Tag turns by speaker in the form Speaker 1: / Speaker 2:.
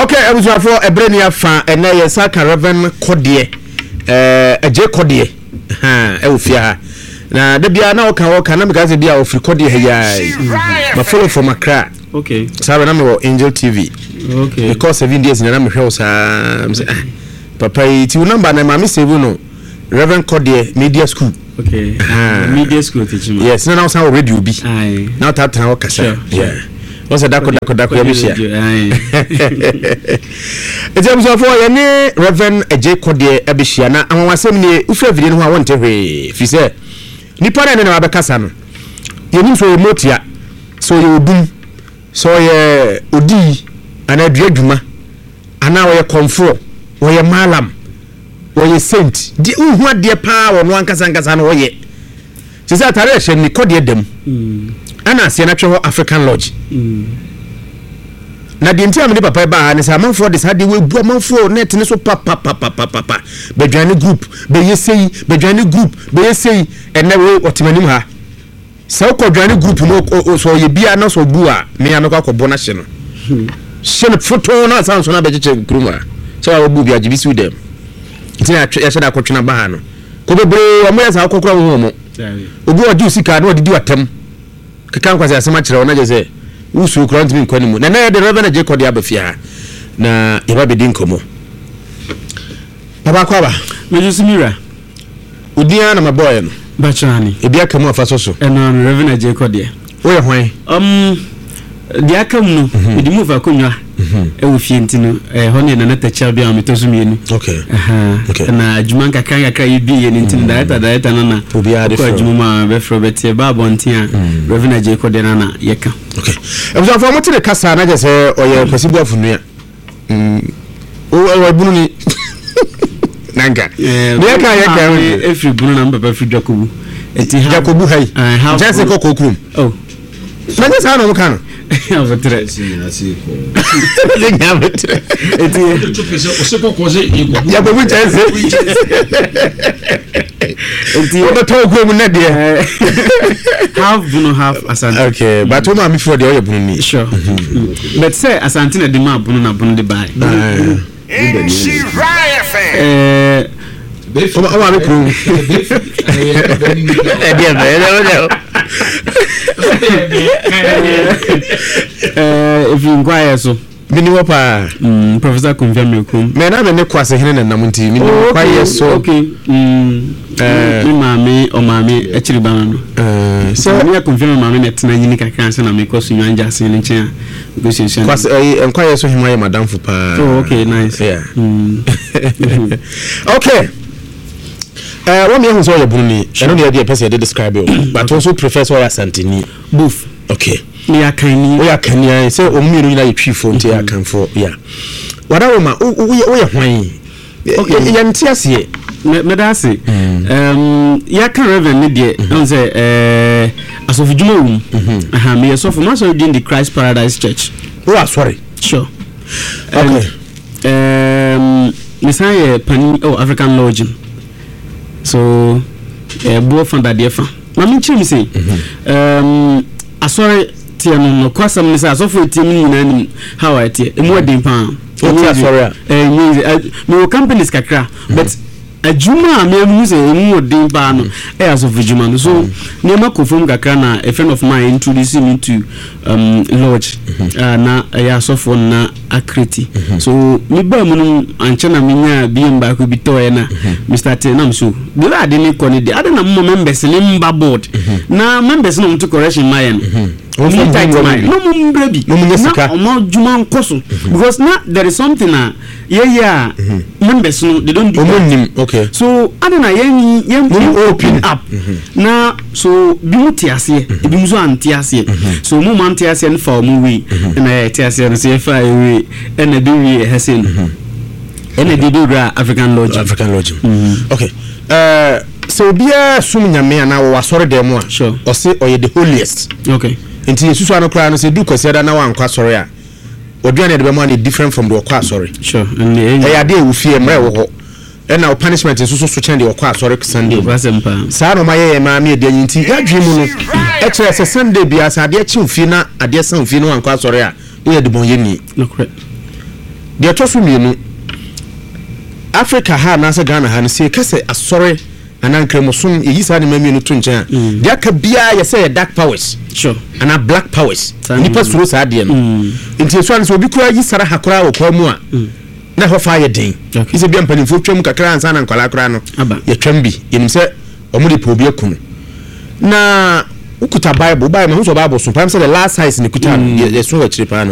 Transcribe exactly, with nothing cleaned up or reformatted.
Speaker 1: Okay, abusuafoɔ, ɛberɛ ni afa. Ɛnɛ yɛn nsa ka Reverend Kɔdeɛ, ɛɛ Agye Kɔdeɛ ɛwɔ fie ha. Na da biara na ɔka ɔka na meka sɛ bi a ɔfiri Kɔdeɛ ha yi ma follow from Accra.
Speaker 2: Okay
Speaker 1: saa bɛ na mewɔ Angel T V.
Speaker 2: Okay
Speaker 1: because seven days na na mehwɛ wo saa sɛ, ah, papa yi ti wo number na maame save no, Reverend Kɔdeɛ Media School.
Speaker 2: Okay, media school teaching.
Speaker 1: Yes, na na wosan wɔ radio bi
Speaker 2: Aye.
Speaker 1: na wotatena hɔ kasa.
Speaker 2: Sure,
Speaker 1: yeah, wọ́n sɛ dako dako dako yɛ bɛhyia.
Speaker 2: Aye.
Speaker 1: Nti abusuafoɔ, yɛne Reverend Agye Kɔdeɛ abɛhyia. Na anwanwasɛm nie, wofiri afidie no ho a, wɔnte hwee, firi sɛ nipa no ɛne na wabɛkasa no, yɛnim sɛ ɔyɛ motia, sɛ ɔyɛ odum, sɛ ɔyɛ odii anaa dua dwuma anaa ɔyɛ kɔnfoɔ, ɔyɛ malam, ɔyɛ saint deɛ, wohu adeɛ paa wɔ no ankasa ankasa no ɔyɛ sɛ sɛ atare ɛhyɛ ni Kɔdeɛ dam ɛna aseɛ no atwɛ hɔ African Lodge. Na deɛ nti a mede papa yi baa ha ne sɛ amanfoɔ de saa deɛ wɔabu amanfoɔ net ne so papapapapapa, bɛdwane group bɛyɛ sei, bɛdwane group bɛyɛ sei. Ɛnɛ wei ɔte m'anim ha sɛ wokɔ dwane group no, ɔ- ɔ- sɛ ɔyɛ bia na sɛ ɔbu a, mea mɛkɔ akɔbɔ no ahye no, hyɛ no fotoo na asa nso no abɛkyekyɛ kurom a sɛ wawɔbu bi agye bi siw dɛm. Nti na yɛatwe- yɛhyɛ da akɔtwena ba ha no kɔ bebree. Ɔmo yɛ saa wokɔkora wo ho ɔmo obi a ɔgye wo sika na ɔdedi w'atam keka nkwasi asɛm akyerɛ wo na gye sɛ wosuo kora ntumi nkɔ ne mu. Na nɛ yɛde Reverend Agye Kɔde aba fie ha na yɛba bɛdi nkɔmmɔ. Papa, kɔ aba.
Speaker 2: Mejo so, mira.
Speaker 1: Odin ara na mabɔɔyɛ no.
Speaker 2: Bachrani.
Speaker 1: Ebi aka mu afa so so.
Speaker 2: Ɛno no, Reverend Agye Kɔdeɛ.
Speaker 1: Woyɛ hwan?
Speaker 2: um, deɛ aka mu no, mede mu fa akonnwa ɛwɔ fie nti no, ɛhɔ no yɛ Nana Takyia bi a metɔ so mmienu.
Speaker 1: okay
Speaker 2: Aha.
Speaker 1: Okay.
Speaker 2: Na adwuma nkakra nkakra yɛ bi yɛ no nti no, director director no na
Speaker 1: Obiara de
Speaker 2: kɔ
Speaker 1: frɛ wo.
Speaker 2: Adwuma mu a bɛfrɛ bɛteɛ ba abɔnten a, Reverend Agye Kɔdeɛ no na yɛka.
Speaker 1: Okay, abusuafoɔ, mote ne kasa na kyɛ sɛ ɔyɛ Kwasi Boafo nua. Ɔyɛ bunu ni nanka
Speaker 2: Eh,
Speaker 1: deɛ yɛka yɛka
Speaker 2: maame efiri Bunu na mpapa firi Dwakobu. Eti ha
Speaker 1: Jakobu ha yi
Speaker 2: Eh, half
Speaker 1: nkyɛn sɛ
Speaker 2: Bunu.
Speaker 1: kɔkɔɔ kurom.
Speaker 2: Oh.
Speaker 1: Na nyɛ saa na ɔmo ka no.
Speaker 2: Abotrɛ.
Speaker 1: Sɛ nya abotrɛ.
Speaker 2: Eti
Speaker 1: Jakobu nkyɛn sɛ
Speaker 2: eti
Speaker 1: wɔbɛtɔ kurom nɛ deɛ.
Speaker 2: Half Bunu, half Asante.
Speaker 1: Okay, but wo maame firi deɛ, ɔyɛ bunu ni.
Speaker 2: Sure. Mm. But sɛ Asante na de ma Bunu na Bunu de baa. Eh,
Speaker 1: wo maame kurom ɛdeɛ bɛ ɛdeɛ bɛ.
Speaker 2: Eh, efiri nkwaayɛ so.
Speaker 1: Mini hɔ paa.
Speaker 2: Mm, Professor Kumfia Mirkum.
Speaker 1: Mɛ na mɛ ne kwase hene nenam nti mini kwayɛ so.
Speaker 2: Okay. Mm.
Speaker 1: Eh.
Speaker 2: Me maame, ɔmaame akyiri ba no.
Speaker 1: Eh,
Speaker 2: sɛ
Speaker 1: sɛ
Speaker 2: me akɔmfia me maame na ɛtena nyini kakra ansa na mekɔ so nwan gyase no nkyɛn a mekɔsuasua no.
Speaker 1: Kwase ɛyi nkwayɛ so hema yɛ madamfo paa.
Speaker 2: Oh, okay, nice.
Speaker 1: Yeah.
Speaker 2: Mm.
Speaker 1: Okay, ɛɛ wɔn mi ehu sɛ ɔyɛ bunu ni, ɛno deɛ deɛ pɛ sɛ yɛde describe o, but also prefer sɛ ɔyɛ Asanteni.
Speaker 2: Both.
Speaker 1: Okay.
Speaker 2: Meyɛ Akanni.
Speaker 1: Woyɛ Akanni ayɛ sɛ wɔn mmienu nyinaa yɛ Twifoɔ nti yɛ Akanfoɔ ya wada wɔn ma woyɛ woyɛ hwan?
Speaker 2: Okay.
Speaker 1: Yɛn ti aseɛ.
Speaker 2: Me- mɛda ase. Um, yɛaka Reverend ne deɛ, ɛhu sɛ eh, asɔfodwuma wɔ mu. Aha, meyɛ sɔfo. Masɔre din de Christ Paradise Church.
Speaker 1: Wowɔ asɔre?
Speaker 2: Sure.
Speaker 1: Okay.
Speaker 2: And, um, mesan yɛ panin ɛwɔ African Lodge mu. So ɛboɔ fa dadeɛ fa ma menkyerɛ mu sei. um, asɔre teɛ no, nɔkɔ asɛm ne sɛ asɔfo ɛtie mu nyinaa nim how a ɛteɛ, ɛmu ɛden paa.
Speaker 1: Wote asɔre a?
Speaker 2: Eh, ɛnyɛ easy. Eh, mewɔ companies kakra, but adwuma a meahu sɛ ɛmu ɔden paa no ɛyɛ asɔfo dwuma no. So nneɛma kɔ fam kakra na a friend of mine introduced me to um, lodge a na ɛyɛ asɔfoɔ no na akreti. So mebaa mu no, ankyɛ na menya B M baako bi tɔɔɛ na Mister Te nam so deɛ ade ne kɔ no deɛ ade na moma members ne mba board na members na ɔmto correction ma yɛ no.
Speaker 1: Wɔn
Speaker 2: ɔmo
Speaker 1: fam
Speaker 2: tight
Speaker 1: hu
Speaker 2: mind
Speaker 1: bi.
Speaker 2: Na ɔmo mbra bi
Speaker 1: Na ɔmo nya sika.
Speaker 2: Na ɔmo adwuma nkɔ so, because na there is something a yɛyɛ a members no, they don't do
Speaker 1: ɔmo
Speaker 2: that.
Speaker 1: nim, okay.
Speaker 2: So ade na yɛn yɛn
Speaker 1: Mo
Speaker 2: yɛn
Speaker 1: open.
Speaker 2: Open up na so bi mu te aseɛ, ebi mu nso ante aseɛ. So mo ma ante aseɛ no fa ɔmo wei ɛna yɛ te aseɛ no so yɛfa yɛ wei ɛna ebi wie ɛhɛ se no ɛna ebi bi wura African Lodge.
Speaker 1: African Lodge. Okay, ɛɛ sɛ obiara som Nyame anaa wɔwɔ asɔre dan mu a,
Speaker 2: Sure.
Speaker 1: ɔse ɔyɛ the holiest.
Speaker 2: Okay
Speaker 1: nti yɛsusu ano koraa no, sɛ du Kwasiada na wankɔ asɔre a, ɔduane yɛde bɛma no different from deɛ ɔkɔ asɔre.
Speaker 2: Sure, ɛnna
Speaker 1: ɛyɛ adeɛ a ɛwɔ fie mmerɛ ɛwɔ hɔ, ɛna wo punishment nso so so kyɛn deɛ ɔkɔ asɔre Sunday no.
Speaker 2: Asɛm paa.
Speaker 1: Saa na ɔma yɛyɛ maa me ɛdeɛ nyi nti yɛadwene mu no ɛkyerɛ sɛ Sunday biara sɛ adeɛ kye wo fie na adeɛ sa wo fie na wankɔ asɔre a, woyɛ debɔnyɛni.
Speaker 2: Nokorɛ.
Speaker 1: Deɛ ɛtɔ so mmienu, Africa ha anaasɛ Ghana ha no, sɛ yɛka sɛ asɔre anaa nkramosom, yɛyi saa nneɛma mmienu to nkyɛn a, deɛ aka biara yɛ sɛ yɛ dark powers
Speaker 2: Sure
Speaker 1: anaa black powers.
Speaker 2: Saa.
Speaker 1: Nipa
Speaker 2: mm.
Speaker 1: suro saa adeɛ no, nti esu ano sɛ obi koraa yi sara ha koraa wɔ kwan mu a, na ɛhɔ fa yɛ den.
Speaker 2: Okay.
Speaker 1: Sɛ bia mpanimfoɔ twam kakra ansa na nkwalaa koraa no
Speaker 2: Aba.
Speaker 1: yɛtwam bi, yɛnim sɛ ɔmo de pɛ obi aku no. Na wokuta Bible, Bible mahu sɛ Bible so pam sɛ the last size ne kuta no, yɛ- yɛso wɔ akyire paa no.